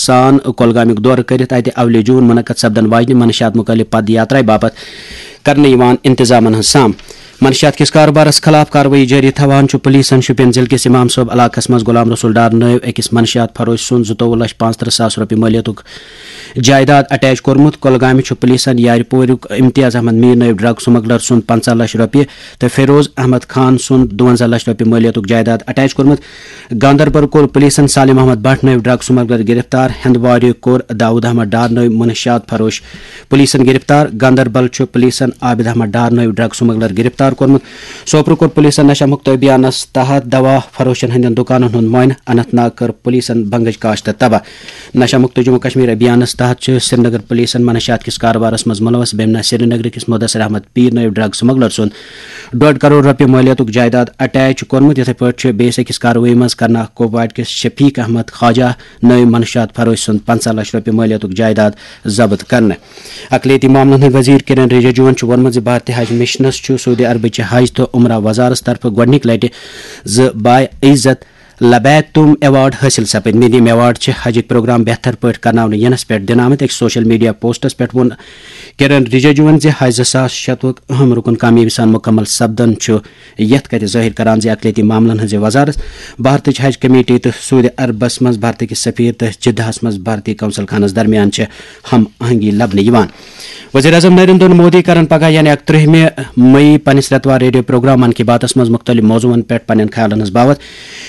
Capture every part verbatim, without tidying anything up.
سان کۄلگامیُک دورٕ کٔرِتھ اَتہِ اولہِ جوٗن منعقد سپدن واجنہِ منشیات مُخٲلِف پد یاترایہِ باپتھ کرنہٕ یِوان انتظامن ہٕنٛز سام۔ منشیات کِس کاربارس خلاف کاروٲیی جٲری تھاوان چھُ پُلیٖسن شُپین ضلعہٕ کِس اِمام صٲب علاقس منٛز غلام رسول ڈار نٲوۍ أکِس منشیات فروشہِ سُنٛد زٕتووُہ لچھ پانٛژترٕٛہ ساس رۄپیہِ مٲلیتُک جائیداد اٹیچ کوٚرمُت۔ کۄلگامہِ چھُ پُلیٖسن یارِ پوریُک امتیاز احمد میٖر نٲوۍ ڈرگ سمگلر سُنٛد پنٛژاہ لچھ رۄپیہِ تہٕ فیروز احمد خان سُنٛد دُوَنزاہ لچھ رۄپیہِ مٲلیتُک جائیداد اٹیچ کوٚرمُت۔ گاندربل کوٚر پُلیٖسن سالم احمد بٹ نٲوۍ ڈرگ سمگلر گرفتار، ہندوارِ کوٚر داؤد احمد ڈار نٲوۍ منشیات فروش پُلیٖسن گرفتار۔ گاندربل چھُ پُلیٖسن عابد احمد ڈار نٲوۍ ڈرگ سمگلر گرفتار کوٚرمُت۔ سوپرٕ کوٚر پُلیٖسن نشہ مُکت ابھیانس تحت دوا فروشن ہٕنٛدٮ۪ن دُکانن ہُنٛد معائنہٕ۔ اننت ناگ کٔر پُلیٖسن بنگٕچ کاشت تباہ۔ نشہ مُکت جموں کشمیر ابھیانس تحت چھِ سرینگر پُلیٖسن منشیات کِس کاربارس منٛز مُلوث بیمنہ سرینگرٕ کِس مدثر احمد پیٖر نٲوۍ ڈرگ سمگلر سُنٛد ڈۄڈ کرور رۄپیہِ مٲلیتُک جائیداد اٹیچ کوٚرمُت۔ یِتھے پٲٹھۍ چھُ بیٚیِس أکِس کاروٲیی منٛز کرناگ کوپوارِ کِس شفیق احمد خواجہ نٲوۍ منشیات فروش سُنٛد پنٛژاہ لچھ رۄپیہِ مٲلیتُک جائیداد ضبط کرنہٕ۔ اقلیتی معاملن ہٕنٛدۍ وزیر کِرن رِجِجوَن چھُ ووٚنمُت زِ بھارتی حج مشنَس چھُ سعودی عربٕچہِ حج تہٕ عمرہ وزارتَس طرفہٕ گۄڈٕنِکہِ لٹہِ زٕ باعزت لبیتم ایوارڈ حٲصِل سپٕدمٕتۍ۔ یِم ایوارڈ چھِ حجٕکۍ پروگرام بہتر پٲٹھۍ کرناونہٕ یِنَس پٮ۪ٹھ دِنہٕ آمٕتۍ۔ أکِس سوشل میڈیا پوسٹَس پٮ۪ٹھ ووٚن کِرن رِجِجوَن زِ حج زٕ ساس شتوُہُک اہم رُکُن کامیٲبی سان مُکمل سپدُن چھُ یَتھ کَتھِ ظٲہِر کران زِ اقلیتی معاملن ہٕنٛزِ وزارت، بھارتٕچ حج کمیٹی تہٕ سعودی عربَس منٛز بھارتٕکۍ سفیر تہٕ جدہَس منٛز بھارتی قونصل خانَس درمیان چھِ ہم آہنگی لبنہٕ یِوان۔ وزیر اعظم نریندر مودی کرن پگاہ یعنی اکترٕہمہِ مئی پننِس رٮ۪توار ریڈیو پروگرام من کی باتس منٛز مُختٔلِف موضوعن پٮ۪ٹھ پننٮ۪ن خیالن ہٕنٛز باوتھ۔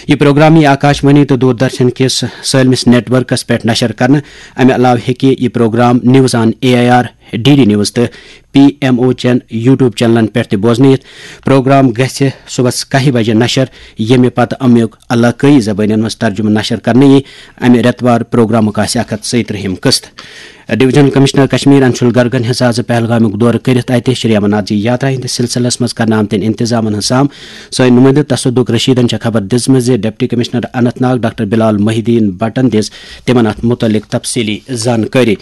یہِ پروگرام یِیہِ آکاش وانی تہٕ دوردرشن کِس سٲلمِس نیٹ ورکس پٮ۪ٹھ نشر کرنہٕ۔ امہِ علاوٕ ہیٚکہِ یہِ programme news on A I R, D D news تہٕ پی ایم او چٮ۪ن یوٹیوب چینلن پٮ۪ٹھ تہِ بوزنہٕ یِتھ۔ پروگرام گژھِ صبحس کاہہِ بجہِ نشر، ییٚمہِ پتہٕ امیُک علاقٲیی زبٲنٮ۪ن منٛز ترجمہٕ نشر کرنہٕ یِیہِ۔ امہِ رٮ۪توار پروگرامُک آسہِ اکھ ہتھ ژۄیہِ ترٕٛہِم قسط۔ ڈویژنل کمشنر کشمیر انشول گرگن ہیٚژ آز پہلگامیُک دورٕ کٔرِتھ اَتہِ شری امرناتھ جی یاترا ہٕنٛدِس سلسلس منٛز کرنہٕ آمتٮ۪ن انتظامن ہٕنٛز سام۔ سٲنۍ نُمٲیندٕ تصدق رشیدن چھےٚ خبر دِژمٕژ زِ deputy commissioner Anant Nag doctor بلال محی الدین بٹن دِژ تِمن اتھ مُتعلق تفصیٖلی زانکٲری۔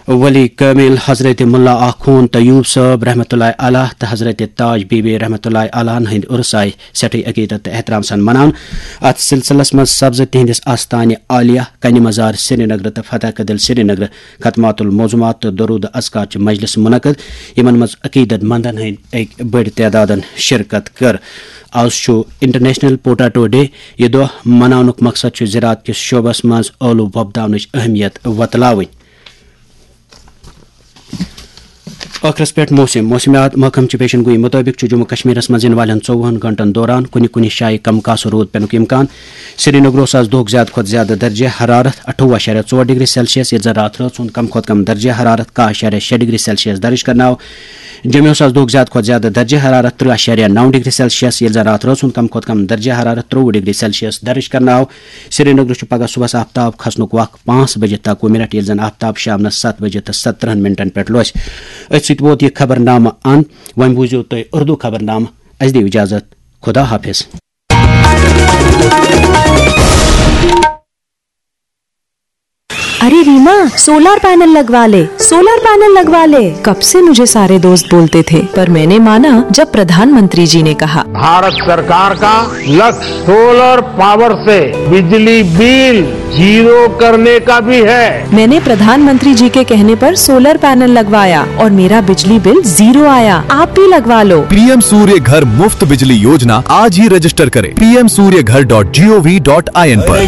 ولی کامل حضرت ملا آخوند طیوب صٲب رحمۃ اللہ علیہ تہٕ حضرت تاج بی بی رحمۃ اللہ علیہ ہٕنٛدۍ عرس آیہِ سٮ۪ٹھٕے عقیدت تہٕ احترام سان مناونہٕ۔ اتھ سلسلس منٛز سپزٕ تِہنٛدِس آستانہِ عالیہ کنہِ مزار سرینگرٕ تہٕ فتح کدل سرینگرٕ ختمات الموضوعات تہٕ درود اذکار چہِ مجلس منعقد، یِمن منٛز عقیدت مندن ہٕنٛدۍ أکۍ بٔڑۍ تعدادن شرکت کٔر۔ آز چھُ انٹرنیشنل پوٹیٹو ڈے۔ یہِ دۄہ مناونُک مقصد چھُ زراعت کِس شعبس منٛز ٲلوٕ وۄپداونٕچ اہمیت وۄتلاوٕنۍ۔ ٲخرس پٮ۪ٹھ موسم۔ موسمیات محکمہٕ چہِ پیشن گویی مُطٲبِق چھُ جموں کشمیرس منٛز یِنہٕ والٮ۪ن ژوٚوُہن گھنٹن دوران کُنہِ کُنہِ جایہِ کم کاسہٕ روٗد پٮ۪نُک امکان۔ سرینگرٕ اوس آز دۄہُک زیادٕ کھۄتہٕ زیادٕ درجہ حرارت اَٹھووُہ اَشاریہ ژور ڈگری سیلسیس، ییٚلہِ زن راتھ رٲژ ہُنٛد کم کھۄتہٕ کم درجہ حرارت کاہ اَشاریہ شےٚ ڈگری سیلسیس درج کرنہٕ آو۔ جوٚمہِ اوس آز دۄہُک زیادٕ کھۄتہٕ زیادٕ درجہ حرارت ترٕٛہ اَشاریہ نَو ڈگری سیلسیس، ییٚلہِ زن راتھ رٲژ ہُنٛد کم کھۄتہٕ کم درجہ حرارت ترٛۆوُہ ڈگری سیلسیس درج کرنہٕ آو۔ سرینگرٕ چھُ پگہہ صبحس آفتاب کھسنُک وق پانٛژھ بجے تہٕ اَکوُہ منٹ، ییٚلہِ زن آفتاب شامنس ستھ بجے تہٕ ستترٕٛہن منٹن پٮ۪ٹھ لوسہِ۔ أتھۍ سۭتۍ ووت یہِ خبرنامہٕ اند۔ وۄنۍ بوٗزِو تُہۍ اردو خبرنامہٕ۔ اَسہِ دِیِو اجازت۔ خدا حافظ۔ अरे रीमा, सोलर पैनल लगवा ले। सोलर पैनल लगवा ले। कब से मुझे सारे दोस्त बोलते थे, पर मैंने माना जब प्रधानमंत्री जी ने कहा। भारत सरकार का लक्ष्य सोलर पावर से बिजली बिल जीरो करने का भी है। मैंने प्रधानमंत्री जी के कहने पर सोलर पैनल लगवाया और मेरा बिजली बिल जीरो आया। आप भी लगवा लो। पीएम सूर्य घर मुफ्त बिजली योजना, आज ही रजिस्टर करें पीएम सूर्य घर डॉट जीओवी डॉट आईएन पर।